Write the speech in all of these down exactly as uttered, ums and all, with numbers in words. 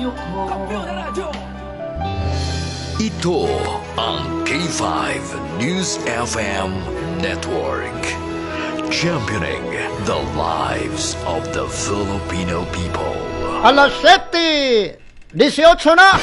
ko. Ito ang K five News F M Network. Championing the lives of the Filipino people. Alas siyete, eighteen na.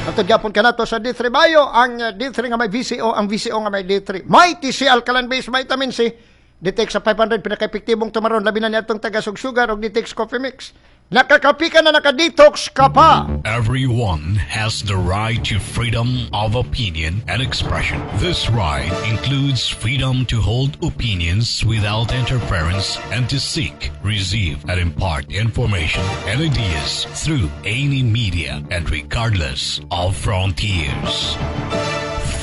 At gyapon ka nato sa D three Bio, ang uh, D three nga may V C O, ang V C O nga may D three. Mighty C Alkaline Base Vitamin C. D T X sa five hundred, pinaka-epektibong tumaron, labi na niya itong taga-sugsugar og D T X Coffee Mix. Nakakapi ka na, naka-detox ka pa. Everyone has the right to freedom of opinion and expression. This right includes freedom to hold opinions without interference and to seek, receive, and impart information and ideas through any media and regardless of frontiers.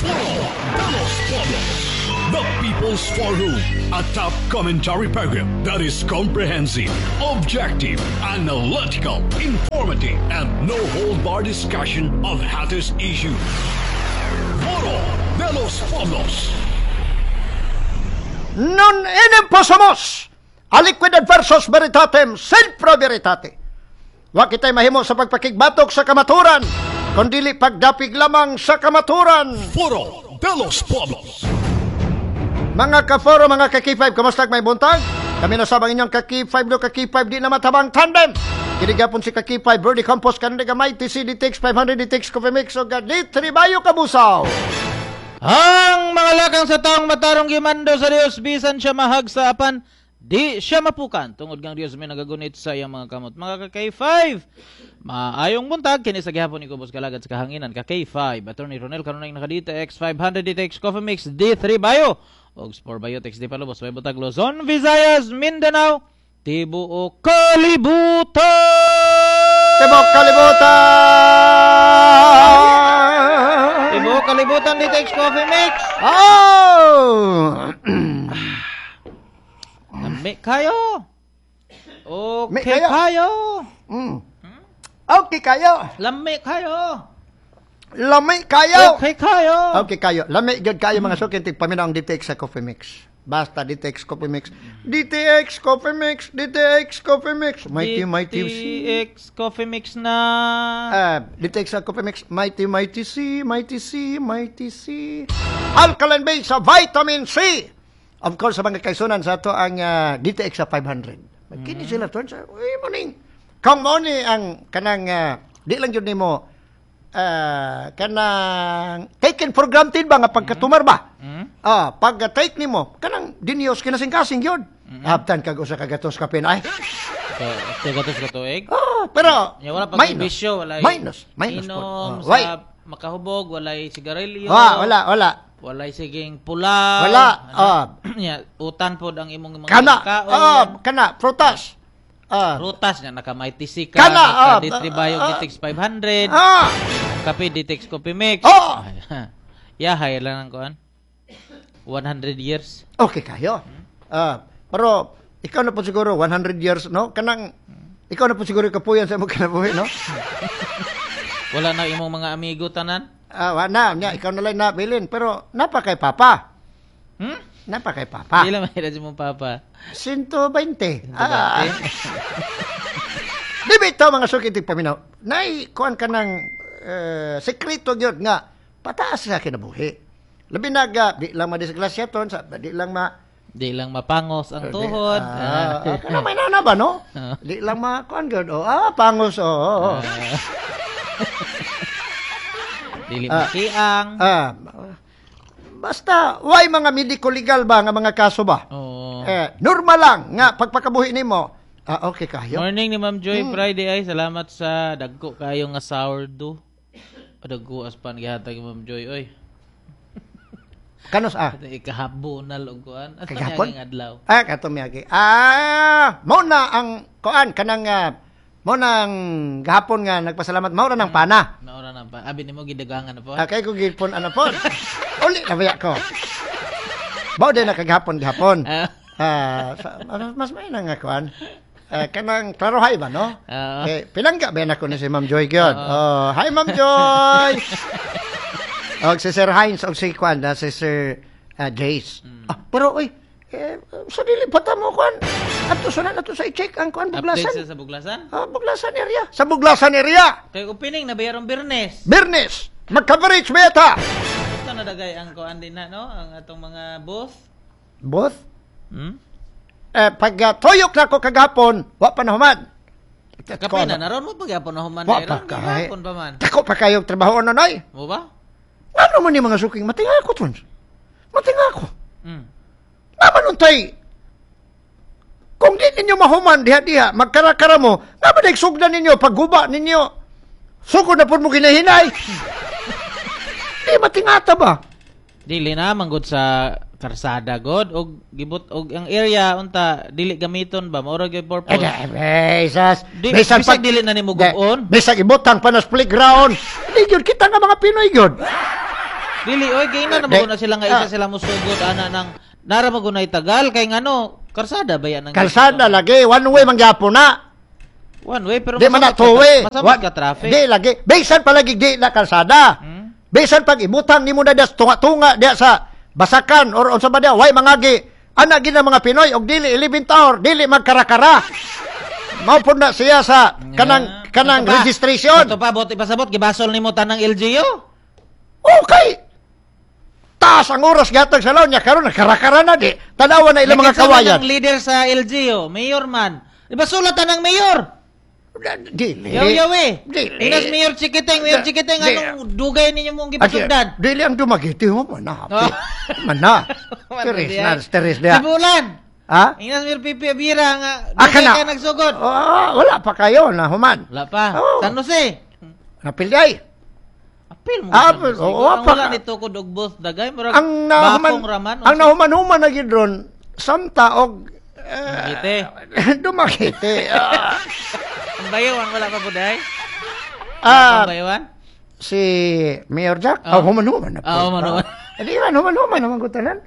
Foro de los Pueblos, the People's Forum, a top commentary program that is comprehensive, objective, analytical, informative, and no hold bar discussion of hottest issues. Foro de los Pueblos. Non enim possumus aliquid adversus veritatem sed pro veritate. Wa kitay mahimo sa pagpakigbatok sa kamaturan, kundili pagdapig lamang sa kamaturan. Foro de los Pueblos. Mga ka-foro, mga ka-K five, kamusta may buntag? Kami na sabang inyong ka-K five do ka-K five di na matabang tandem. Kini gapon si ka-K five, Birdie Campos, kanina Mighty C, D T X five hundred, D T X Coffee Mix, o D three Bayo Kabusaw. Ang mga lakang sa taong matarong gimando sa Dios, bisan siya mahagsa apan di siya mapukan tungod ngang Dios may nagagunit sa iyang mga kamot. Mga ka K five, maayong buntag. Kini sa gihapon ni Kubos Kalagad sa kahanginan ka K five Attorney Ronel kanunay naka D T X five hundred, D T X Coffee Mix, D three Bio og Spore Biotics di palubos may butag Luzon, Visayas, Mindanao, tibuok kalibutan. Tibuok kalibutan! Tibuok kalibutan, D T X Coffee Mix. Oh! Lami kayo. Okay Mi kayo. Kayo. Mm. Okay kayo. Lami kayo. Lami kayo. Okay kayo. Okay kayo. Lami gyud kayo, mga suki tig paminaw ang D T X sa Coffee Mix. Basta D T X Coffee Mix. D T X Coffee Mix, D T X Coffee Mix. Mighty Mighty C. D T X Coffee Mix na. Uh, D T X sa Coffee Mix, Mighty Mighty C, Mighty C, Mighty C. Alkaline base sa vitamin C. Of course, sa mga kaisunan sa ato ang ah, D T X sa five hundred. Kini sila to sa uy morning. Kung mo ni ang kanang ah, di lang jud nimo ah, kanang taken for granted ba nga pagkatumar ba? Ah, pag ah, take nimo kanang dinios kinasing-kasing yun. Haptan kag usa ka gatos kapin ay. So, gatos ka tuig. Oh, pero Ya, wala pa minus. bisyo, walay Minus, minus po. inom Oh, sa why? makahubog, walay sigarilyo. Ah, wala, wala. Walay siging pula. Wala, ah. Ya, utan pod ang imong mga Kana, kaon. ah, kana, prutas. Ah, Prutas nga naka Mighty C ka, Kana, naka ah, D three Bio, ah, D T X five hundred. ah, Kape D T X Coffee Mix. Oh! Ya, hay lang ang kuan. one hundred years. Okay kayo. Ah, pero ikaw na po siguro one hundred years, no? Kanang ikaw na po siguro kapuyan sa imong kinabuhi, no? Wala na imong mga amigo tanan. Ah, wala nya, ikaw na lang nabilin, pero napa kay papa. Hmm? Napa kay papa. Di lang mahirap si mong papa. one twenty. Ah. Di ba ito, mga suki tig paminaw? Nay, kuan ka ng eh, sekreto gyud nga pataas sa kinabuhi. Labi naga, di lang madisgrasya ton, sa, di lang ma Di lang mapangos ang tuhod. Ah, ah, kana may nana ba, no? Ah. Di lang ma kuan gyud. Oh, ah, pangos, oh, oh, oh. Dili Ah. makiang. Ah, basta way mga medico legal ba nga mga kaso ba? Oo. Eh, normal lang nga pagpakabuhi nimo. Ah, okay kayo. Morning ni Ma'am Joy Hmm. Friday ay salamat sa dagko kayo nga sourdough. O, dagko as pan gihatag ni Ma'am Joy oy. Kanos ah? Ikahabonal og kuan. Asa Kagahapon? niya adlaw? Ah, kato miyagi. Ah, mao na ang kuan kanang ah, mao na ang gahapon nga nagpasalamat mao ra ng pana. Naura na pa. Abi nimo gidagangan na po. Ah, kay ko gipon ana po. Uli na baya ko. Mao din na kagahapon gahapon. Ah. Ah, sa- mas may na nga kuan. Eh, kanang klarohay ba, no? Oo. Eh, pinangga ba na ko ni si Ma'am Joy gyud. Oh, hi Ma'am Joy. Og si Sir Heinz og si kuan na si Sir ah, Jace. Ah, pero oy, Eh, sa dili pa ta mo kuan. Ato sa na ato sa i-check ang kuan Update Buglasan. sa sa Buglasan? Ah, Buglasan area. Sa Buglasan area. Kay opening na bayarong Birnes. Birnes. Mag-coverage ba yata? Ito na dagay ang kuan din na no, ang atong mga booth. Both? Hmm? Eh, pag uh, tuyok na ko kagapon, wa pa na human. Kape na naron mo pagyapon na human Wa na pa kay. Gyapon pa man. Dako pa kayo trabaho na nay. Mo ba? Ano man yung mga suking matinga ako tons. Matinga ako. Hmm. Naman untay. Kung di ninyo mahuman diha-diha, magkarakara mo, naman ay sugdan ninyo, pagguba ninyo. Sugod na po mo ginahinay. Di matingata ba? Dili na manggod sa karsada god og gibot og ang area unta dili gamiton ba mao ra gyud Eh, purpose. eh, sas. Di- bisag dili na nimo gubon. Bisag ibutang pa na sa playground. Di gyud kita nga mga Pinoy gyud. Dili oy kay na Di- mo na sila nga isa ah. sila mosugod ana nang nara magunay tagal kay ngano karsada ba yan ang Kalsada lagi, one way man gyapon na. One way pero Di man na masamot two ka- way. Masamot Wa- ka traffic. Di lagi. Bisan pa lagi di na kalsada. Hmm? Bisan pag ibutang nimo na das tunga-tunga diya sa basakan or unsa ba diya, way mangagi. Ana gid ang mga Pinoy og dili eleven tower, dili magkarakara. Mao pud na siya sa kanang kanang Ito pa. registration. Ito pa bot ipasabot gibasol nimo tanang L G U. Okay. Taas ang oras gatag sa laon niya karon nagkarakara na di. Tanawa na ilang mga Nakita man kawayan. ang leader sa L G U, mayor man. Di ba sulat ang mayor? Dili. Yaw yaw eh. Dili. Inas Mayor Chikiting, Mayor Di- Chikiting, di. anong dugay ninyo mong Ati, gipasugdan? dili ang Dumaguete mo mana. Oh. Mana. Teres na, teres dia. Sibulan. Ha? Inas Mayor Pipi Abira nga Ah, dugay kana. ka nagsugod. Oh, wala pa kayo na human. Wala pa. Oh. San Jose. Napilay. Apil mo. Ah, San Jose. oo, Ang pa wala ka. ni tukod og both dagay murag Ang nahuman bakong raman. ang nahuman-human na gid ron samta og Dumaguete. eh, Dumaguete. Ah, Ang bayawan wala pa buday. ah, Ang bayawan. Si Mayor Jack, Oh. oh, human-human na po. Ah, human-human. Ah, Di man, human-human naman ko tanan.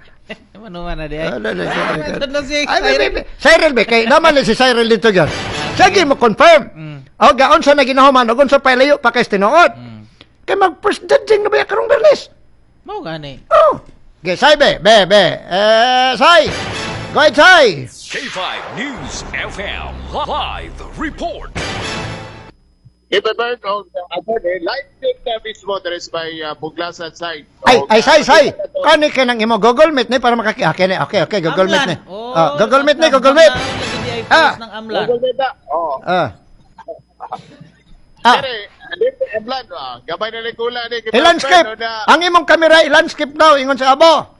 Manuman na di ay. Ah, la, la, la, la. Tudlo si Ay, Cyril. may, may, Cyril be, kay naman ni si Cyril dito gyud. Sige mo confirm. Mm. O gaon sa naginahuman, og unsa pa layo pa kay tinuod. Mm. Kay mag first judging na ba ya karong Berlis? Mao gani. Oh. Okay, Sai be, be, be. Eh, Sai. Go ahead, Sai. K five News F M Live Report. Iba-bird og ako eh, live din na mismo there is by uh, Buglasan side. Ay, Og, ay, Sai, Sai. uh, Kani kay nang imo Google Meet ni para makaki. Okay, ni. Okay, okay, Google Meet ni. Oh, Ah, Google Meet ni, Google Meet. Ah. Ah. Ng Amlan. Google Meet na. Oh. Ah. Ah, Dire, dito Amlan, ah, gabay na ni kula ni I-landscape. Ang imong kamera i-landscape daw ingon sa abo.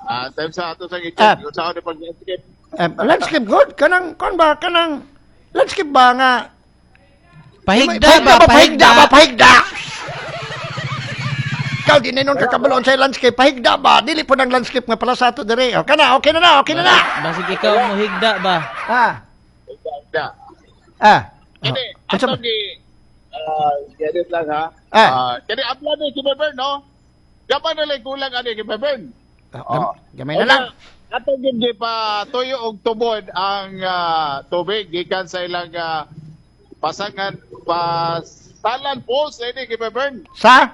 Ah, time sa ato sa Ah. i-check kung sa ako pag landscape. Eh, landscape good kanang kon ba kanang landscape ba nga Pahigda ba? Pahigda ba, pahigda? Ikaw di na nun kakabalon sa landscape, pahigda ba? Dili po ng landscape nga pala sa ato dire. Okay na, okay na na, okay na na. Basig ikaw mo higda ba? Ah, Da. ah. Kini, Oh. Unsa ato ba? gi ah, get lang ha. Ah. Ah, kini Amlan ni Kimberburn, no? Gabay na lang kulang ani Kimberburn. Oh, gam- gamay na lang. Ato gyud gi pa tuyo og tubod ang ah, tubig gikan sa ilang ah, pasangan pasalan falls ini Kimberburn. Sa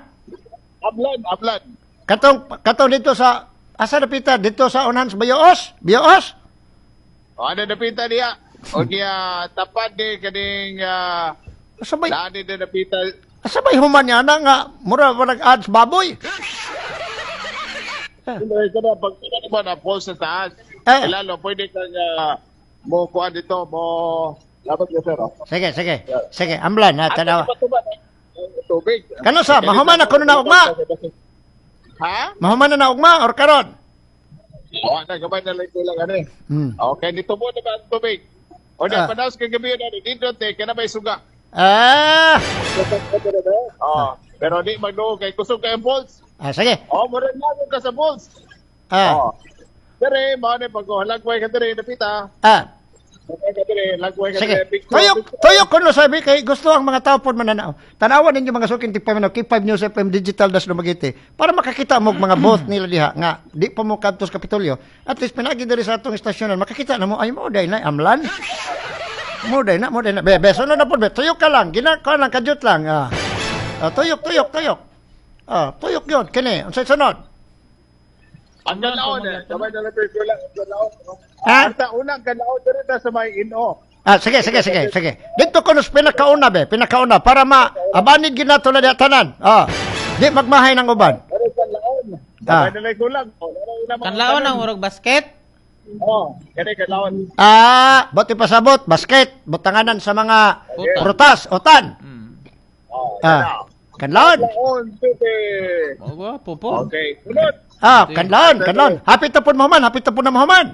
Amlan, Amlan. katong katong dito sa asa na pita dito sa unahan sa Bayoos, Bayoos. O ano napita niya? O niya tapad ni kaning uh, Asa bay daan ni napita. Asa bay human niya na nga mura ba nag-ads baboy? Hindi ka na pag ano ba na falls sa taas. Eh. Lalo pwede kang ah, mo kuan dito mo labat ka sir. Oh. Sige, sige. Sige, Amlan ha, tanawa. Ato, tuba- tubig. Kano sa, mahuman na kuno na ugma. Ha? Mahuman na na ugma or karon? O, ana gamay na lang kulang ano eh. Hmm. Okay, dito mo na ba ang tubig? O Ah. na, panaos kay gabi na dito te kana may suga. Ah, Oh, pero di magduo kay kusog kay ang balls. ah sige. Oh, mura na ka sa balls. Ah, Oh. Dire, mao ni pag lagway ka dire napita. ah. Lagway ka dire, lagway ka Sige. dire. Picture, Tuyok, picture. tuyok kuno sabi kay gusto ang mga tao pod mananaw. Tanawan ninyo mga suking tigpaminaw K five News F M Digital das Dumaguete para makakita mo og mga booth nila diha nga di pa mo kadto sa Kapitolyo. At least pinagi diri sa atong estasyonan makakita na mo ay mo day na Amlan. Mo day na, mo day na. Be, be, sunod na pod be. Tuyok ka lang, gina ka lang kadyot lang. Ah. Ah, tuyok, tuyok, tuyok. Ah, tuyok yun. Kini, unsay sunod? Ang kanlaon eh. Sabay na lang tayo lang ang kanlaon. Ha? Anta unang kanlaon diri ta sa may ino. Ah, sige, sige, sige, sige. Dito ko nos pinakauna be, pinakauna para ma abanid gid nato na diha tanan. Ah. Di magmahay ng uban. Pero kanlaon. Ah. Sabay na lang kulang. Oh, wala na mga Kanlaon tanan. ang murag basket. Oh, kani kanlaon. Ah, bote pasabot, basket, butanganan sa mga Utan. prutas, utan. Mm. Oh, Ah, kanlaon. Kanlaon City. Oh, gwapo po. Okay, sunod. Ah, kanlaon, kanlaon. Hapit na pud mahuman, hapit na pud na mahuman.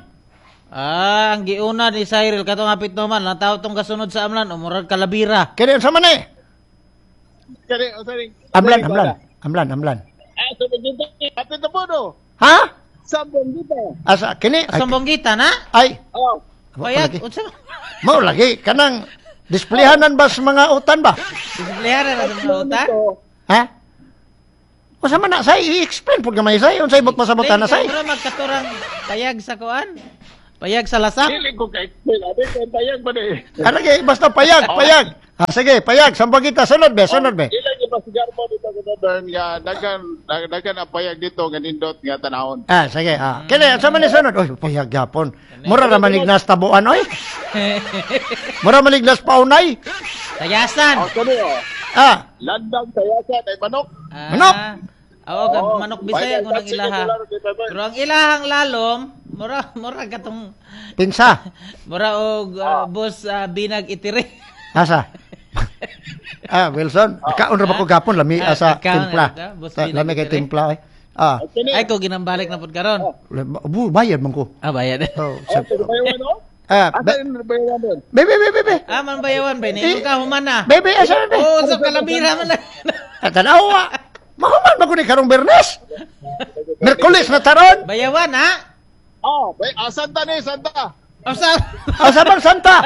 Ah, ang giuna ni Cyril katong hapit naman, lang tao tong kasunod sa amlan, umurag kalabira. Kini unsa man eh? Kani unsa ning Amlan, amlan, amlan, amlan. Ah, sa Bonggita. Hapit na po no. Ha? Sa Bonggita. Asa kini? Ay, Sa Bonggita na? ay. Oh. Payag, Lagi. unsa man? Mao lagi kanang displayhanan ba sa mga utan ba? Displayan na sa mga utan. Ha? Unsa man na say i-explain pud gamay say unsay but pasabotan na say. Mura magkaturang payag sa kuan. Payag sa lasak. Dili ko ka-explain. Ate, kay payag ba ni? Ah, lagi basta payag, payag. Ah, sige, payag sampagita sunod be, sunod be. Ilang ipasigar mo dito sa Bern nga daghan daghan ang payag dito nga nindot nga tanahon. Ah, sige. Ah, kini unsa man ni sunod? Oy, payag gyapon. Mura ra malignas tabuan oy. Mura malignas paunay. Tayasan. Oh, kani oh. Ah, Landang sayasan ay manok. Ah, Manok. Oo, ka, Oo. manok Bisaya kung ang Sige, ilaha. sige, sige, sige. Pero ang ilahang lalom, mura mura katong pinsa. mura og uh, boss ah, binag itiri. Asa? ah, Wilson, kaon ra ba ko gapon lami Ah, asa kaon timpla. ra, boss Ta- binag Lami kay itiri. timpla eh. Ah, Kani. Ay ko ginambalik na pud karon. bu bayad man ko. Ah, bayad. Oh, Oh, sa- bayawan oh. ah, Asa be- yung bayawan doon? bebe, bebe, bebe. Ah, man bayawan ba ni ka human na. Bebe, asa na be? Oh, sa kalabira man lang. Ah, Tanawa. Mahuman ba ko ni karong Bernes? Merkulis na taron. Bayawan ha? Oh, bay ah, Santa ni Santa. O sa Asa bang Santa?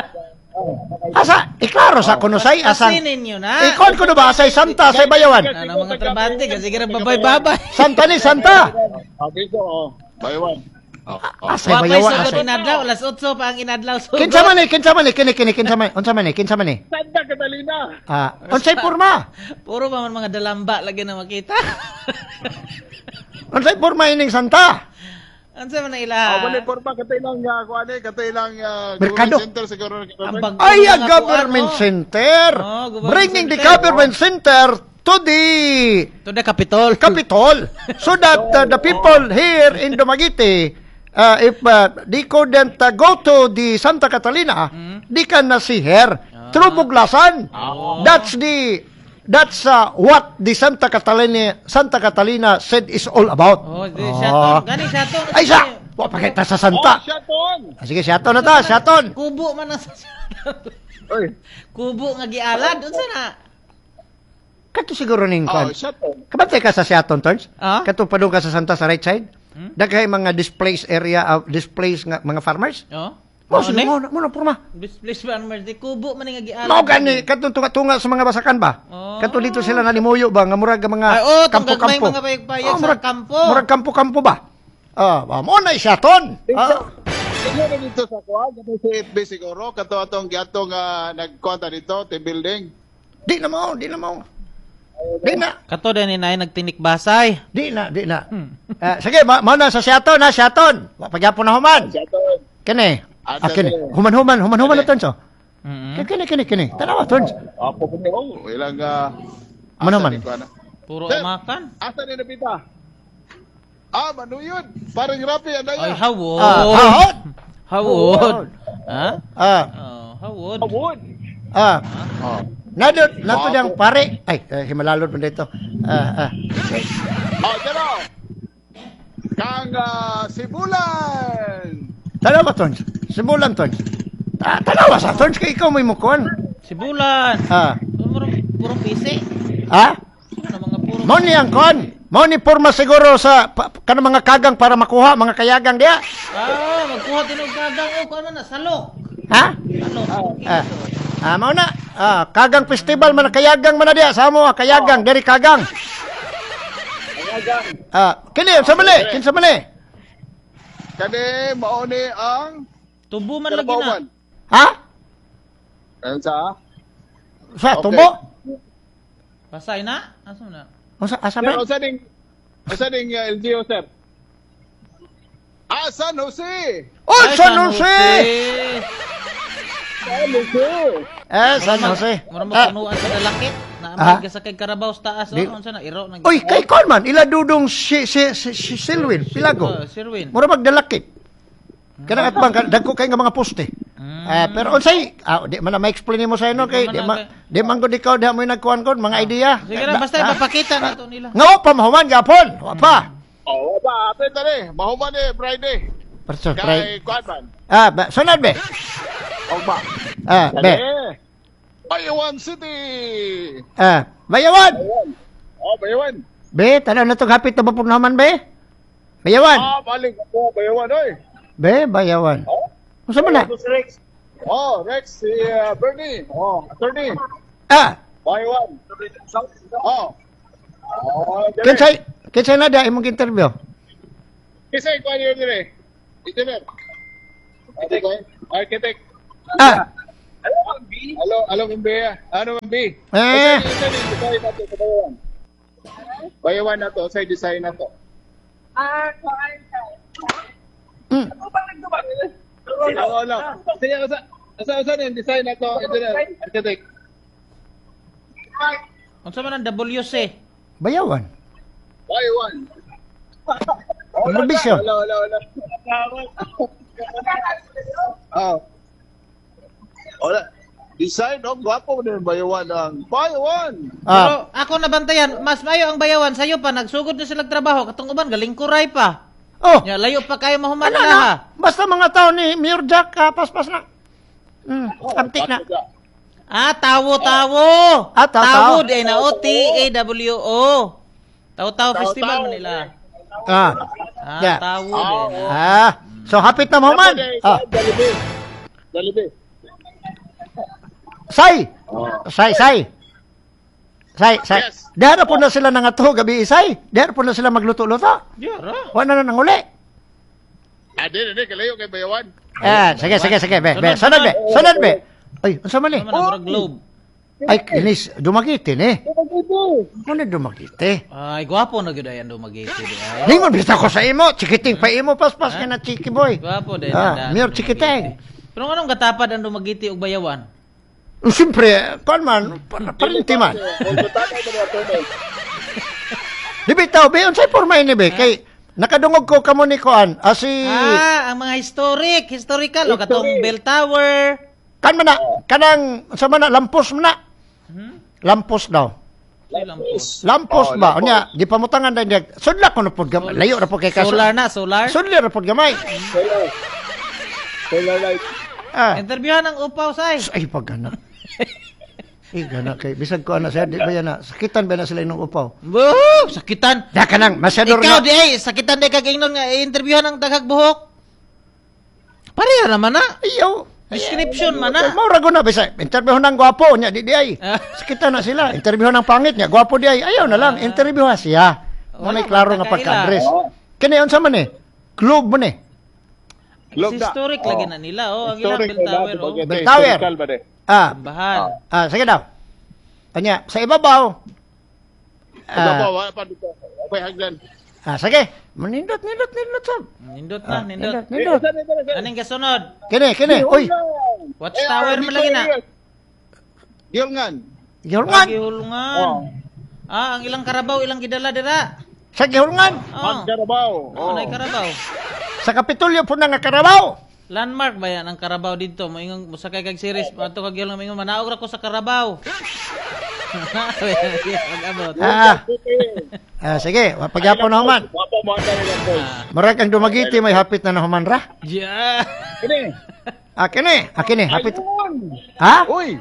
Asa, iklaro sa kuno say asang. Pasinin ninyo na. Ikon kuno ba asay Santa asay bayawan? Ano mga trabante kasi kira babay-babay. Santa ni Santa. Okay so, oh. Bayawan. Oh, oh. Asay Wa pa'y bayawan sugod asay. inadlaw, alas otso pa ang inadlaw sugod. Kinsa man ni, kinsa man ni, kini kini kinsa man, unsa man ni, kinsa man ni? Santa Catalina. Ah, unsay porma? Puro pa man mga dalamba lagi na makita. Unsay porma ining Santa? Unsa man ang Ah, ilaha? wala porma katay lang uh, kuan eh, katay lang uh, Merkado. government center siguro. Ang bag- Ay, a mga government kuan, oh. center. Oh, government Bringing the center. government center to the To the Capitol. Capitol so that uh, the people here in Dumaguete uh, if uh, they couldn't uh, go to the Santa Catalina they can uh, see her through Buglasan. That's the that's uh, what the Santa Catalina Santa Catalina said is all about. Oh, di Ah. siya Gani siya to. Ay sa wa pa kita sa Oh, Santa. Shaton. Ah, sige, siyaton na ta, siyaton. Kubo man ang sa siyaton. Oy. Kubo nga gialad unsa na? Kato siguro ning Oh, kwan. Shaton. Kabantay ka sa Siaton, Torns? Ah? Kato padung ka sa Santa sa right side? Hmm? Daghay mga displays area, uh, displays nga mga farmers? Oh. Mo Mao sige ni? mo mo na porma. Displace farmers di kubo man nga gialad. Mao gani katong tunga-tunga sa mga basakan ba? Oh. Kato dito sila nanimuyo ba nga murag nga mga Ay, oh, tong gagmay kampo-kampo. mga payag-payag Oh, sa murag- kampo. Murag kampo-kampo ba? Ah, uh, mo na siyaton. Ah, Siguro dito sa kuan, kato sa F B siguro, kato atong giatong uh, nagkuan ta dito, team building. di na mo, di na mo. Di na, Kato din ni nay nagtinik basay. di na, di na. Ah, sige, ma mao na sa siyaton, ha, siyaton. Wa pagyapon na human. Shaton. Kini. Ah, Ah, kini. sige. Human-human, human-human na tons. oh. Mm-hmm. Kini, kini, kini. Tanawa, tons. Apo ko oh, ilang uh, Ano man? Puro Sir. amakan. Asa ni napita? Ah, manuyod. Parang rapi ang Ay daya. hawod. Ah, hawod. Hawod. Ha? Ah, Oh, hawod. Hawod. ah. Oh. Nadot, nato diyang pare. Ay, eh, himalalod mo dito. Ah, ah. Oh, dero. Kang ah, Sibulan. Tanawa, tons. Simulan, tons. Ah, tanawa sa tons kay ikaw may mukon. Sibulan. Ah. Puro puro pisi. Ah? Ano mga puro Mao ni ang kon. Mao ni porma siguro sa pa, kanang mga kagang para makuha mga kayagang diya. Ah, magkuha tinog kagang o kuan man na salok. Ha? Salok. Ah. Ah, mao na. Ah, kagang festival man kayagang man na diya sa amo ah, kayagang diri kagang. Ah, kini sa mali, kinsa mali? Kani mao ni ang Tubo man lagi na. Karabawan. Ha? Ayun sa Sa Okay. tubo? Pasay na? Asa na? Unsa asa Sir, ba? unsa ning unsa ning uh, L G U sir? Ah, San Jose. Oh, Ay, San Jose! San Jose. Eh, San Jose. Mura mo Ah. punuan sa dalakit. Na Ah. may gasakay karabaw sa taas. Di- Oh, unsa na iro nag. Uy, kay kon man, ila dudong si si si, si Silwin, Pilago. Oh, Sirwin. Mura magdalakit. Kanang atbang kan dagko kay nga mga poste. Ah, pero unsay ah, di man na ma-explain nimo sa ino kay Di di man ma na- di man gud ikaw diha mo nagkuan kon mga idea. Sige na, basta Ah, ipapakita na to nila. Nga wa pa mahuman gapon. Wa pa. Oh, ba, apit na ni. Mahuman ni Friday. Perso, Kay try. kuan man. Ah, ba, sunod be. O ba. Ah, be. Bayawan City. Ah, bayawan. Bayawan. Oh, Bayawan. Be, tanaw na to hapit na ba pud naman be? Bayawan. Ah, balik ako Bayawan oy. Be, bayawan. Oh. Unsa man na? Si Rex. Oh, Rex si uh, Bernie. Oh, attorney. Ah, Bayawan. Oh. Oh, dire. kinsay kinsay na da imong interview? Kinsay kuan yun dire. Engineer. Architect. Architect. Ah, Alo, alo ang B. Ano ang B? Eh. Kasi design na to sa Bayawan. Bayawan na to, sa design na to. Ah, kuan. mm. Oo, ano. Sige, asa asa asa yung design na to, engineer, architect. Unsa man ang W C? Bayawan. Bayawan. Ambition. Wala, wala, wala. Ah. Wala. Design, oh, gwapo din Bayawan ang Bayawan. Ah, Pero ako nabantayan, mas mayo ang bayawan sayo pa nagsugod na sila trabaho katong uban galingkuray pa. oh. Nya layo pa kayo mahuman Ano na na? ha. Basta mga tao ni Mayor Jack, ah, paspas na. Mm, amtik na. Ah, tawo tawo. Ah, tawo, Tawo tawo. di ay na O T A W O. Tawo tawo festival man nila. Ah. Ah, Yeah. tawo di ay na. Ah, so hapit na mahuman. Ah, Jollibee. Jollibee. say. Say, say. Say, say. Yes. Diha na po na sila nangato gabi isay. Diha na po na sila magluto-luto. Yeah, ra. Wa na na nanguli. Ah, di, di, kalayo kay Bayawan. Ah, sige, sige, sige, be, be. Sunod, be. Sunod, be. Ay, unsa man ni? Ano man ang murag globe. Ay, kinis, dumagiti ni. Ano dumagiti? Ay, gwapo na gyud ay ang Dumaguete di ay. Ningon bitaw ko sa imo, chikiting pa imo paspas ka na chiki boy. Gwapo di Ah, ang Mayor Dumaguete. Chikiting. Pero anong katapad ang Dumaguete ug Bayawan? Siyempre, kuan man, pa- parinti man. Di bitaw, be, unsay porma ini be? Kay, nakadungog ko kamo ni kuan, ah, si, Ah, ang mga historic, historical o katong Bell Tower. kan man na, kanang, unsa man na, lampos man na. Lampos daw. Ay, lampos. Lampos Oh, ba? lampos. Unya, di pamutangan din. Sudla ko na pod gamay. Layo ra po kay kaso. Solar na, solar. Sudla ra pod gamay. Solar. Solar light. Ah. Interviewhan ang upaw say. Ay, pag gana. Ay, gana kay bisag ko ana sir, di ba yan na sakitan ba na sila inyong upaw? Woo, sakitan. Da ka nang masyado Ikaw na. di ay sakitan di kag ingnon nga i-interviewhan ang daghag buhok. Pareha naman na. Ayaw. Description man na. Mao ra na bisag interview ng gwapo nya di di ay. Ah. Sakitan na sila. Interview ng pangit nya gwapo di ay. Ayaw na lang interview ha siya. Mo Wala, na klaro nga magkakaila. pagka-address. Kini unsa man eh? Globe man eh. Globe na. Historic lagi na nila oh, ang ilang Historic Bell Tower oh. Bell Tower. Historical ba de? Ah, Simbahan. ah sige daw. Kanya sa ibabaw. Ah. Ah, Wala pa dito. Okay, hagdan. ah sige. Manindot nindot nindot sab. Nindot na, Ah, nindot. Nindot. Anong kasunod? Kini kini. Uy, Watch Tower man lagi na. Gilngan. gihulngan. Gihulungan. Ah, ang ilang karabaw ilang gidala dira. Sa gihulngan. Oh. Ang Carabao. Oh. Anay karabaw. Sa Kapitolyo po na nga Karabaw. Landmark ba yan ang Carabao dito? Moingon mosakay kag series ato kag gihulungan moingon manaog ra ko sa Carabao. Pag-abot. Ah, ah sige, pagyapon na human. Wapo mo ang nila boys. Murag ang Dumaguete may hapit na nahuman ra. Yeah. Kini. Ah, kini, ah, kini, hapit. Ayungon. Ha? Uy.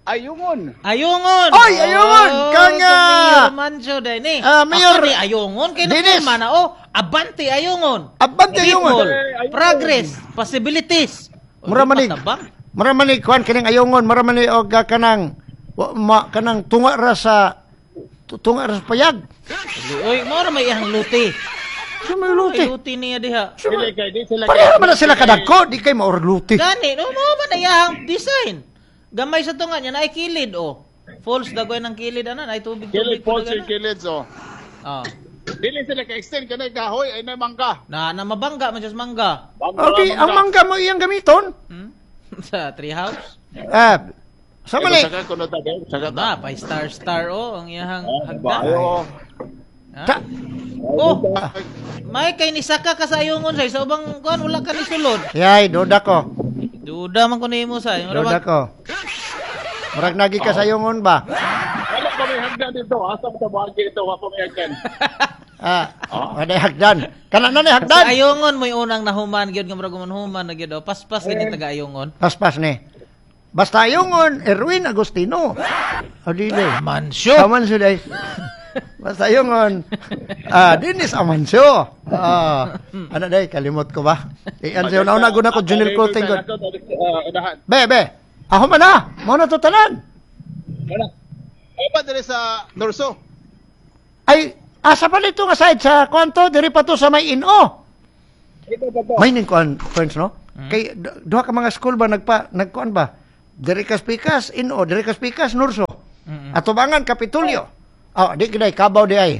Ayungon. Ayungon. Oy, ayungon! Oh, Kang, sa ah, Mayor Manjo day ni. ah, Mayor- Ako ni ayungon kay Dennis. napirma na oh. Abante ayungon. Abante ayungon. People, progress, possibilities. O, Mura di man ni pa tabang. Mura man ni kuan kining ayungon, mura man ni og ah, kanang wa, ma, kanang tunga ra sa tu- tunga ra sa payag. Oy, mao ra may iyang luti. Sa may luti. Ay, luti niya diha. Sa may- Dili kay di sila. Pareha man na sila kadagko, di kay maor luti. Gani, no, mao man na iyang design. Gamay sa tunga niya naay kilid oh. Falls dagoy ng kilid ana, ay tubig Kilid tubig po si Kilid oh. Oh. Dili sila ka-extend kanay kahoy ay na mangga. Na na mabangga man siya sa mangga. Okay, ang mangga mo iyang gamiton. Hmm? Sa treehouse. Ah, sa mali. Saka kuno ta saka ta. Na, pa star star oh ang iyahang hagdan. Ayo. Ha? Ta- Oh, may kay nisaka ka sa ayungon say sa ubang kuan wala ka ni sulod. Yay, duda ko. Duda man ko nimo say. Mura Duda ba- ko. Murag nagi ka sa ayungon ba? Wala pa may hagdan dito. Asa pa sa buhagi ito, wala pa may hagdan. Ah, wala hagdan. Kana na ni hagdan. Sa ayungon mo'y unang nahuman gyud nga murag human na gyud oh. Paspas gyud ni taga ayungon. Paspas ni. Basta ayungon, Erwin Agustino. O dili. Mansyo. Amancio day. Basta ayungon. Ah, Dennis Amancio. Ah, ano day kalimot ko ba? Iyan siya una guna ko Junil Clothing gud. Unahan. Be, be. Ako man na. Mo na to tanan. Wala. Ay pa diri sa Norso. Ay, asa pa nito nga side sa kwanto diri pa to sa may ino. Ito pa to. May ning kuan friends no? Kay du- duha ka mga school ba nagpa nagkuan ba? Diri kas pikas ino, diri kas pikas Nurso. Atubangan Kapitulyo. Oh, di giday kabaw di ay.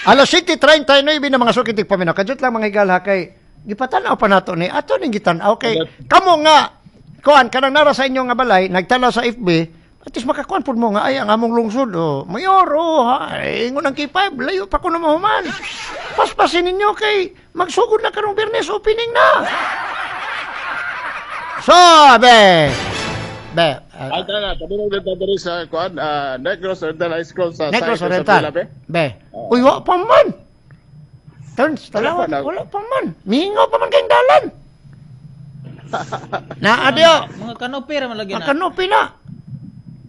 Alas siete treinta y nueve na mga sukitik paminaw. Kajut lang mga higala kay gipatanaw pa nato ni ato ning gitanaw kay kamo nga kuan kanang nara sa inyo nga balay nagtanaw sa F B, at least makakuan pud mo nga ay ang among lungsod oh mayor oh ha ingon ang K five layo pa kuno mahuman. Paspasin ninyo kay magsugod na karong Biyernes, opening na. So be be uh, Ay tara, tabi na dito diri sa kuan, ah, Negros Oriental High School sa Negros side sa Oriental. Villa, be. Be. Uy, wa pa man. Turns, talawan, Wala pa na. wala pa man. Mingaw pa man kayong dalan. Na, adyo. Mga kanopi ra man lagi na. Makanupi na.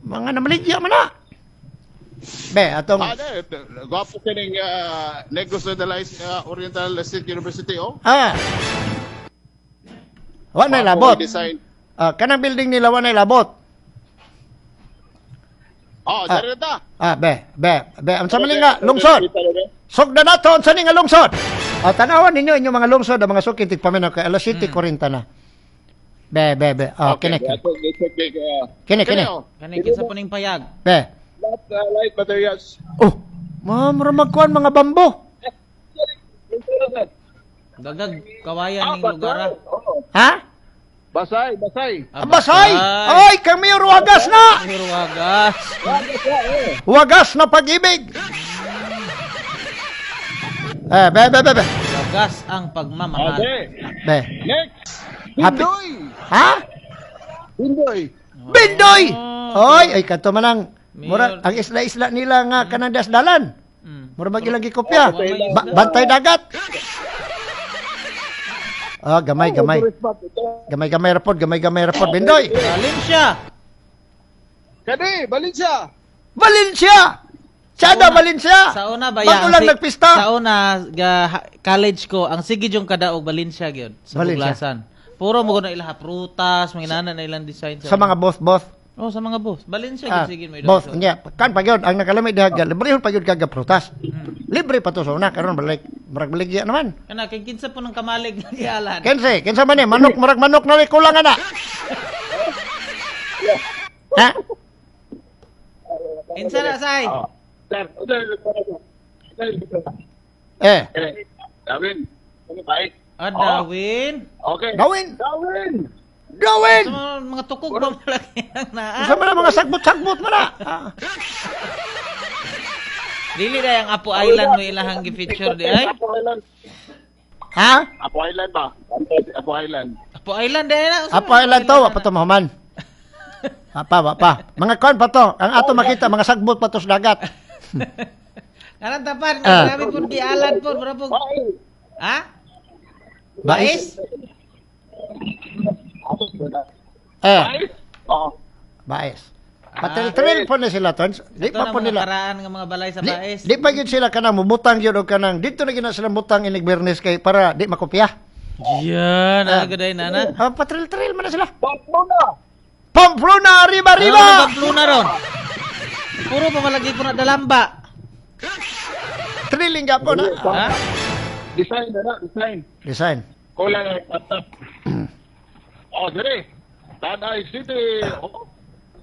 Mga namaligya man na. Be, atong, Ah, de, gwapo kining ah, Negros Oriental High- ah, Oriental State University oh. ah. Wa na Gwapo labot. ang Design. Ah, kanang building nila wa na labot. Oh, Ah. diri ta. Ah, be, be, be. Ang sa nga, lungsod. Sugda na to, unsa ni nga lungsod? Ah, tanawan ninyo inyong mga lungsod, ang mga suki tigpaminaw kay alas siete kwarenta na. Be, be, be. Oh, kini. Okay, Kini, kini. oh. Kani kinsa po ning payag. Be. Lahat uh, light materials. Oh, ma'am, magkuan mga bambo. Dagag kawayan ning lugar ah. Oo. Ha? Basay, basay. Ah, Basay! Ay, kami wagas na! Mayor Wagas. Wagas na pag-ibig! Eh, be, be, be, be. Wagas ang pagmamahal. Okay. Be. Next. Happy- Bindoy. Ha? Bindoy. Bindoy! Oy, ay kato man ang mura Mayor. ang isla-isla nila nga kanang dasdalan. Mm. Mura mag ilang gikopya. Ba- bantay dagat. Ah, gamay, gamay. Gamay, gamay rapod, gamay, gamay rapod. Bindoy! Valencia. Kani, Valencia. Valencia! Sada Valencia! Sa una ba Bago ang lang si- nagpista. Sa una ga, ha- college ko ang sige yung kadaog Valencia gyud sa Valencia. Buglasan. Puro mo na ilaha prutas, mga inana na ilang design Sa mga both-both. Oh, sa mga boss. Valencia Ah, gyud sige may both nya kan pa gyud ang nakalami diha ga libre pa gyud kaga prutas. Libre pa to sa una karon balik murag baligya naman. Kana kay kinsa po ng kamalig nga gialan. Kense, kinsa man ni manok murag manok na kulang ana. Ha? Kinsa na say? Sir, sir, sir, Eh, Dawin. Ano ba? Ah, Dawin. Okay. Dawin. Dawin. Dawin. Sa mga, mga tukog ba malaki ang naa? Unsa man ang mga sagbot-sagbot man na? Ah. Dili na ang Apo Island mo ilahang gi-feature di ay. Apo Island. Ha? Apo Island ba? Apo Island. Apo Island di ay na. Unsa Apo man Island to, wa pa na? to mahuman. Apa, wa pa. Mga kon pa to. Ang ato makita mga sagbot pa to sa dagat. Karan tapan, Ah. grabe pud gialan pud, mura pud. Ha? Bais? Bais? Eh, Oo. bais. Patril-tril po na sila tons. Di Ito pa na po mga nila. paraan nga mga balay sa Di, baes. di pa gyud sila kanang mubutang gyud og kanang dito na gyud na sila butang inig Biyernes kay para di makopya. Yan, ah, gaday nana. Ha, patril-tril man na sila. Pamplona. Pamplona, arriba, arriba! Ano na Pamplona ron? Puro pa malagi po na dalamba. Thrilling po na. Ha? Design na na, design. Design. Kulang na patap. Oh, dire. Tanay City. Oh.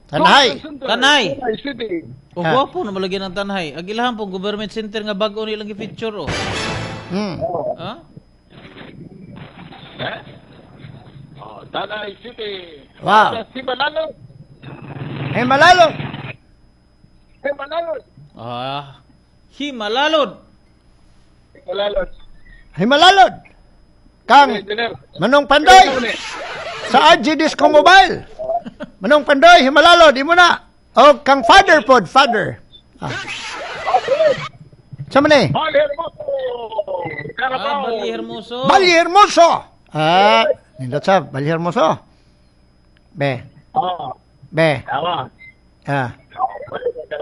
Tanhay. Tanay. Tanay City. O Ah. gwapo na malagyan ng Tanhay. Ang ilahan pong government center nga bago nilang gi-feature oh. Hmm. Ha? Eh? Oh, Tanay City. Wow. Si Manalo. Hey, Malalo. Si Manalo. Ah. Himalalod. Manalo. Hey, Malalod. Kang Engineer. Manong Pandoy sa A G Disco Mobile. Manong Pandoy, Himalalod, imo na. O kang father pod, father. Ah. Sa man eh? Bali Hermoso. Ah, Carabao. Bali Hermoso. Bali Hermoso. Ah, nindot sa Bali Hermoso. Be, Ah, be. tama. Ah.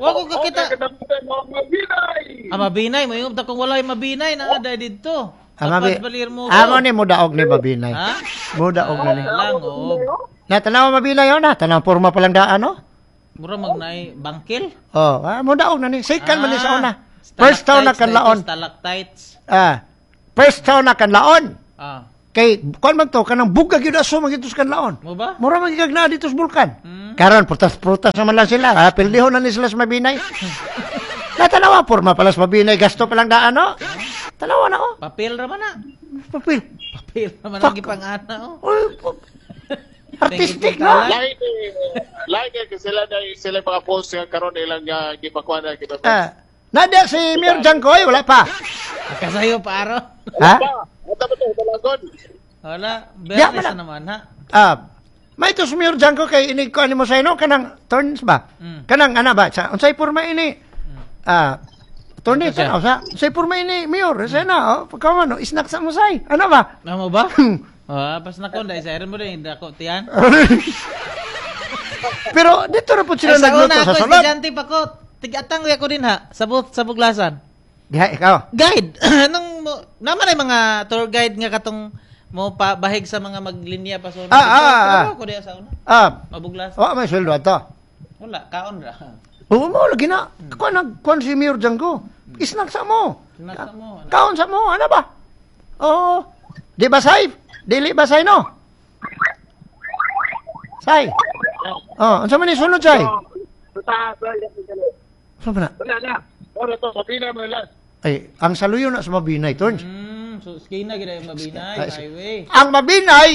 Wa ko kakita. Okay, katapusan mo, Mabinay. Ah, mabinay. May ta kung walay mabinay na aday dito. Ah, mabi. Apas Bali Hermoso. Amo ni mudaog ni Mabinay. Ha? Mudaog na ni. Lang oh. Na tanaw Mabinay oh na, tanaw porma pa lang daan oh. Mura magnay bangkil. Oh, ah, mudaog na ni. Sikan man ni sa una. Ah, First town na stalactites, kanlaon. Stalactites. Ah. First town na kanlaon. Ah. Kay kuan man to kanang bugag gyud aso man gyud sa kanlaon. Mo ba? Mura man gyud na dito sa bulkan. Hmm. Karon prutas-prutas naman lang sila. Ah, pildihon na ni sila sa Mabinay. Natanawa porma pala sa Mabinay gasto pa lang daan oh. Tanawa na oh. Papel ra man na. Papel. Papel ra man Fuck. ang gipangana oh. Uy, pa- artistic no. Lain eh, lain eh, kasi sila na sila mga post nga karon ilang uh, gipakuan na gipakuan. Ah, nada si Mir Jangkoy wala pa. Kasayo pa aro. Ha? Pa, ata ba to dalagon? Wala, Ya, Bernes wala. na naman ha. Ah, may ito si Mir Jangko kay ini ko ani mo sa ino kanang turns ba? Mm. Kanang ana ba sa unsay porma ini? Ah, attorney Ano siya? tanaw sa unsay porma ini Mayor sa na oh pagka no isnak sa mo say. Ano ba? Namo ba? Ah, pas na kon dai sa mo din dako tiyan. Pero dito na po sila Ay, sa nagluto una sa ako, sulod. estudyante pa ko. Tigatang ko din ha, sa bu sa buglasan. Diha ikaw. Guide. Anong mo, naman ay mga tour guide nga katong mo pa bahig sa mga maglinya pa sa una. Ah, ah, ah, ah. Ako diha sa una. Ah, Mabuglasan. wa may sweldo ato. Wala, kaon ra. Oo mo lagi na. Kuan nag kuan si Mayor Jangko. Isnak sa mo. Isnak sa mo. Kaon sa mo, ano ba? Oo. Di ba say? Dili ba say no? Say. Oh, unsa man ni sunod say? Sa Unsa man na? Wala na. Ora to, Mabinay mo last. Ay, ang saluyo na sa Mabinay, Torns. Mm, so skina gid ay mabinay, Ay, highway. Ang Mabinay,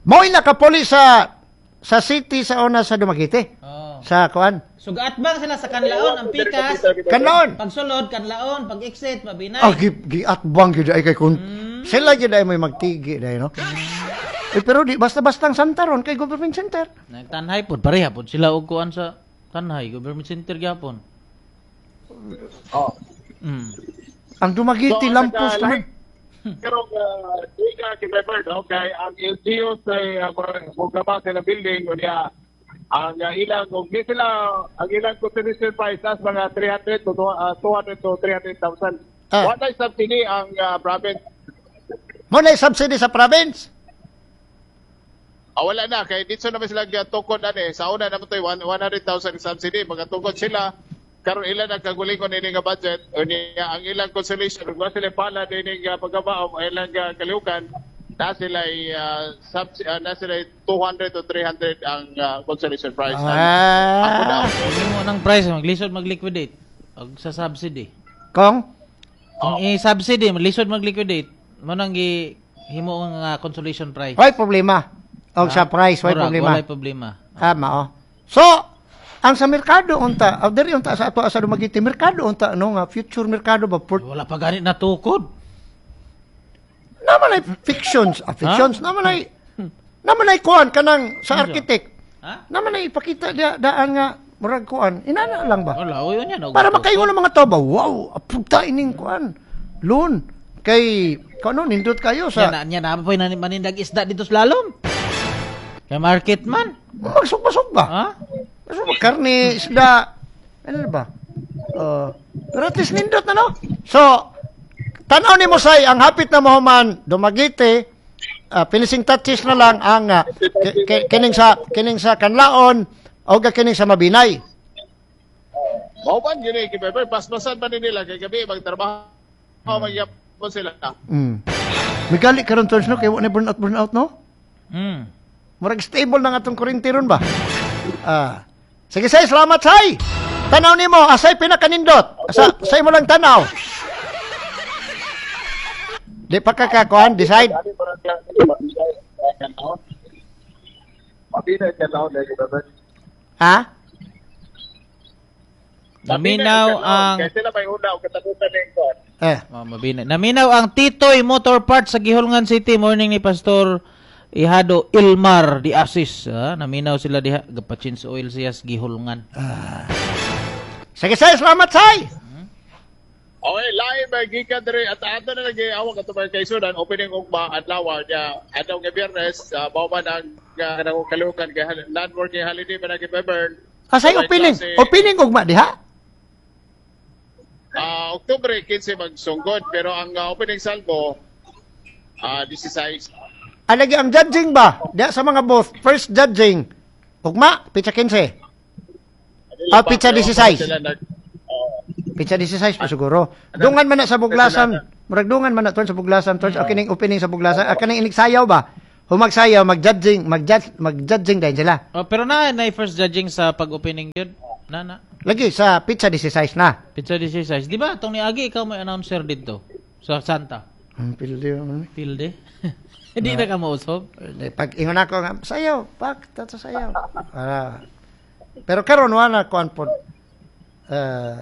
mo'y nakapuli sa sa city sa una sa Dumaguete. Oh. Sa kuan. Sugat bang sila sa kanlaon ang pikas? Kanlaon. Pagsulod kanlaon, pag exit mabinay. Ah, gi, giatbang gyud ay kay kun. Sila gyud ay may magtigi day no. Eh, pero di basta-basta ang Santa ron kay government center. Nagtanhay pod pareha pod sila og kuan sa Tanhay, government center gyapon. Oh. Mm. Ang Dumaguete So, lampos nagka- naman. Pero uh, di ka kay no kay ang L G U sa uh, mugama sila building unya ang uh, ilang kung di sila ang ilang consolation price as mga three hundred to uh, two hundred to three hundred thousand. Ah. Wala subsidy ang uh, province. Mo na subsidy sa province. Ah, wala na kay dito naman sila tukod ani sa una naman to one hundred thousand subsidy magatukod sila karon ilan ang kagulingon ini nga budget unya ang ilang consolation ug wa sila pala dinhi nga pagkabaom ilang uh, kalihukan na sila uh, subs- uh, na sila two hundred to three hundred ang uh, consolation price. Ang- Ako daw. Ah. Himo ng price maglisod magliquidate og sa subsidy. Kong Kung i-subsidy maglisod magliquidate, mo nang gi himo ang ah, consolation price. way problema. Og sa price way Murag, problema. Walay problema. Tama oh. So, ang sa merkado unta, oh, diri unta sa ato sa Dumaguete merkado unta no nga future merkado ba port Wala pa ganit natukod. naman ay fictions, ah, fictions naman ay naman ay kuan kanang sa architect. Ha? Naman ay ipakita dia daan nga murag kuan. Inana lang ba? Wala, uy niya Para makaingon ang mga tao ba, wow, apunta ining kuan. Loon kay kuno nindot kayo Nya sa na nya na pa manindag isda dito sa lalom. Kay market man. magsugba-sugba. Ha? Magsugba karne, isda. Ano ba? Uh, pero at least nindot na no. So, tanaw ni mo say ang hapit na mahuman Dumaguete, ah, finishing touches na lang ang ah, ki- ki- kining sa kining sa Kanlaon o kining sa Mabinay. Mao man yun eh, kay paspasan man ni nila kay gabi magtrabaho magyapon sila. Mm. Migali karon tons no kay wa na burn out burn out no. Mm. Murag stable na nga atong kuryente ron ba? Ah, Sige, say, salamat, say. Tanaw nimo, asay pinakanindot. Sa sa imo lang tanaw. Di pa ka kakuan, decide. Ha? Naminaw ang Kaya sila may una og katapusan ning kuan. Eh, Oh, mabina. Naminaw ang Titoy Motor Parts sa Gihulngan City morning ni Pastor Ihado Ilmar di Asis. Ah, naminaw sila diha gapachins oil siya sa Gihulngan. Sige, say, salamat, say. Okay, live ay gikan diri at ato na lagi awang ato mga kaisunan opening ugma adlaw niya adlaw nga Biyernes uh, mao man ang uh, kanang kalukan kay non-working holiday man ang Burn. Asay opening, opening ugma diha. Ah, Oktubre fifteen magsunggod pero ang uh, opening salvo ah uh, sixteen. Ah, lagi ang judging ba? Diha sa mga booth, first judging. Ugma, pitsa fifteen. Ah, pitsa sixteen. Sila nag uh, Pitsa sixteen pa siguro. Dungan man na sa buglasan. Murag dungan man na tuan sa buglasan. Tuan, okay ning opening sa buglasan. Ah, kaning inigsayaw ba? Humagsayaw, mag-judging, mag-judge, mag-judging din sila. Oh, pero na na first judging sa pag-opening gyud. Na na. Lagi sa pitsa sixteen na. Pizza sixteen. Di ba tong niagi ikaw may announcer dito sa Santa. Ang pildi naman. Pilde. Hindi na ka mausob. Eh, pag ingon ako nga, sayaw, pak, tato sayaw. Ah. Pero karon wala kuan pod. Eh,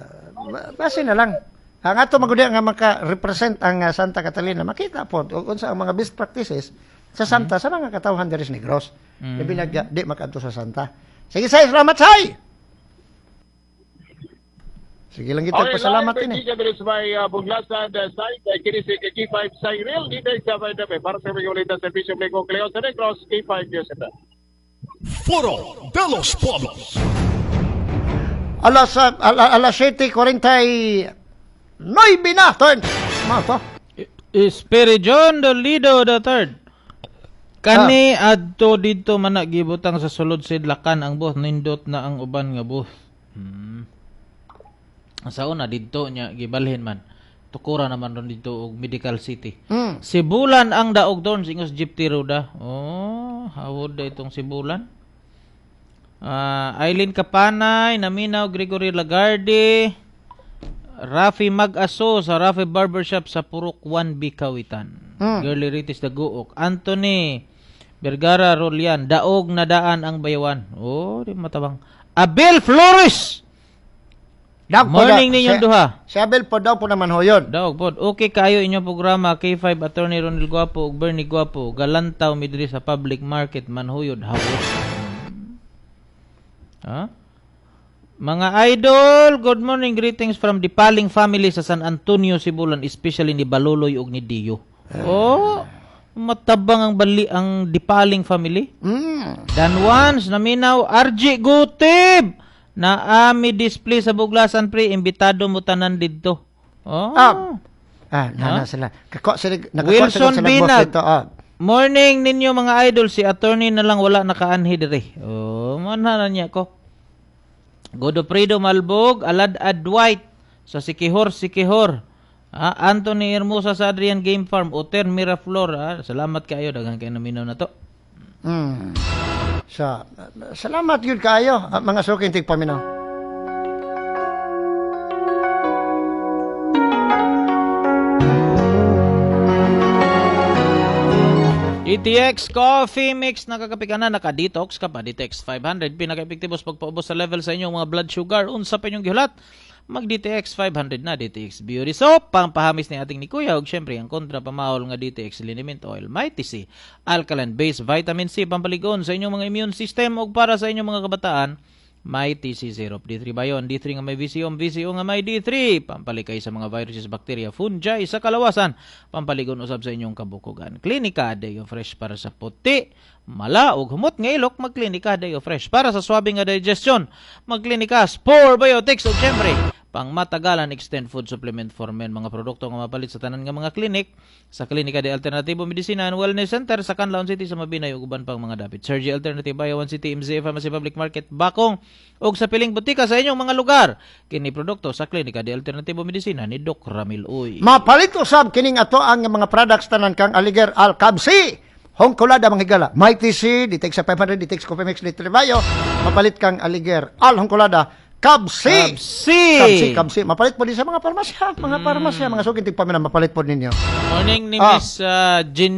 base na lang. Ang ato magud nga maka-represent ang uh, Santa Catalina, makita pod ug unsa ang mga best practices sa Santa mm. sa mga katawhan diri sa Negros. Mm. Labi nag di makadto sa Santa. Sige, say, salamat, say. Sige lang kita okay, pasalamat ini. Okay, diri sa may uh, Buglasan uh, side uh, kini si K five Cyril dito sa may dape para sa mga ulit sa serbisyo publiko Cleo sa Negros K five News F M. Foro de los Pueblos. Alas ala, alas siete cuarenta y nueve na, turn. Mao to. Espiridion Dolido the third. Kani ah. Adto didto man gibutang sa sulod sidlakan ang booth nindot na ang uban nga booth. Hmm. Sa una didto niya gibalhin man. Tukura naman ron didto og Medical City. Mm. Sibulan ang daog doon singos jeep ti Ruda. Oh, hawod da itong Sibulan. Uh, Eileen Kapanay, Naminaw Gregory Lagarde, Rafi Mag-aso sa Rafi Barbershop sa Purok one B Kawitan. Mm. Girly Ritis Daguok, Anthony Vergara Rolian, daog na daan ang bayawan. Oh, di matabang. Abel Flores. Dag Morning ninyong duha. Si Abel po daw po naman ho yun. Daog po. Okay kayo inyong programa K five Attorney Ronel Guapo ug Bernie Guapo. Galantaw mi diri sa public market manhuyod hawod. Ha? Mga idol, good morning, greetings from the Paling family sa San Antonio, Sibulan, especially ni Baluloy ug ni Dio. Oh, matabang ang bali ang Dipaling family. Mm. Dan once naminaw R J Gutib. Na ami display sa Buglasan pre, imbitado mo tanan didto. Oh. Ah, ah na, na sila. Kako sila Wilson sila Binag. Dito, ah. Morning ninyo mga idol, si attorney na lang wala nakaanhi diri. Oh, manhanan niya ko. Godofredo Malbog, Alad Adwhite sa Sikihor, Sikihor. Ah, Anthony Hermosa sa Adrian Game Farm, Oter Miraflor. Ah, salamat kayo, daghan kayo naminaw na to. Mm. So, salamat yun kayo, mga suking tigpaminaw. D T X Coffee Mix, nakakape ka na, naka-detox ka pa. D T X five hundred, pinaka-epektibo sa pagpaubos sa level sa inyong mga blood sugar. Unsa pa inyong gihulat? Mag-D T X five hundred na, D T X Beauty Soap, pampahamis ni ating ni Kuya, ug syempre ang kontra pamahol nga D T X Liniment Oil, Mighty C, Alkaline Base Vitamin C, pampaligon sa inyong mga immune system ug para sa inyong mga kabataan, Mighty C Syrup, D three bayon, D three nga may V C O, V C O nga may D three, pampalikay sa mga viruses, bakterya, fungi sa kalawasan, pampaligon usab sa inyong kabukugan. Klinika Deo Fresh para sa puti, mala ug humot nga ilok, magklinika Deo Fresh para sa swabe nga digestion, magklinika Spore Biotics ug syempre pangmatagalan extend food supplement for men, mga produkto nga mapalit sa tanan nga mga klinik sa Klinika de Alternatibo Medicina and Wellness Center sa Canlaon City sa Mabinay ug uban pang mga dapit. Sergi Alternative Bayawan City, M Z A Pharmacy Public Market Bakong ug sa piling butika sa inyong mga lugar. Kini produkto sa Klinika de Alternatibo Medicina ni Doc Ramil Uy. Mapalit usab kining ato ang mga products tanan kang Aliger Alcabsi. Hong Colada mga higala. Mighty C, D T X five hundred, D T X Coffee Mix, Little Bayo. Mapalit kang Aliger. Al Hong Colada, Kabsi. Kabsi. Kabsi, Kabsi. Mapalit po din sa mga parmasya. Mga parmasya, mga suking tigpaminaw, mapalit po ninyo. Morning ni Ah. Miss uh, Jean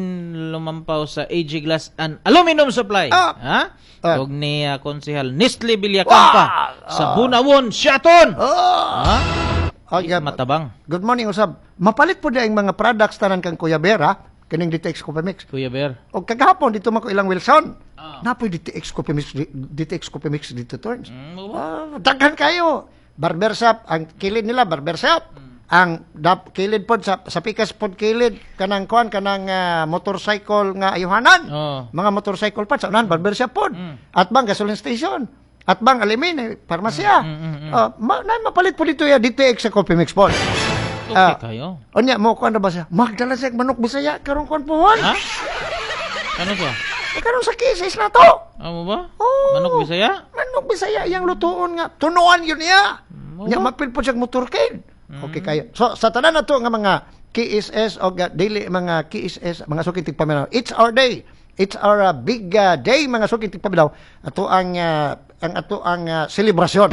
Lumampaw sa A G Glass and Aluminum Supply. Ah. Ha? Ah. Ug ni uh, Konsehal Nestle Villacampa sa Bunawon, Siaton. Oh! Ha? Ah, yeah. Matabang. Good morning, usab. Mapalit po di ang mga products tanan kang Kuya Bera, kining D T X Coffee Mix. Kuya Bear. O kagahapon dito man ko ilang Wilson. Napoy D T X Coffee Mix, D T X Coffee Mix dito turns. Mm, mo ba? Ah, daghan kayo. Barber shop, ang kilid nila barber shop. Ang dap, kilid pod sa sa pikas pod kilid kanang kuan kanang ah, motorcycle nga ayuhanan. Oh. Mga motorcycle parts sa unahan barber shop pod. At bang gasoline station. At bang alimin eh, parmasya. Ah, ma, na, mapalit po dito ya D T X sa Coffee Mix pod. Okay Ah. kayo. Unya mo kuan na ba siya? Magdala siya og manok Bisaya karon kuan pohon. Ha? Ano ba? Eh, karon sa kisis na to. Amo ba? Oo. Manok Bisaya? Manok Bisaya iyang lutuon nga. Tunuan yun niya. Mo Nya ba? mapil po siya motorcade. Okay kayo. So sa tanan na to nga mga K S S o ga- dili mga K S S, mga suking tigpaminaw. It's our day. It's our uh, big uh, day, mga suking tigpaminaw. Ato ang uh, ang ato ang uh, selebrasyon.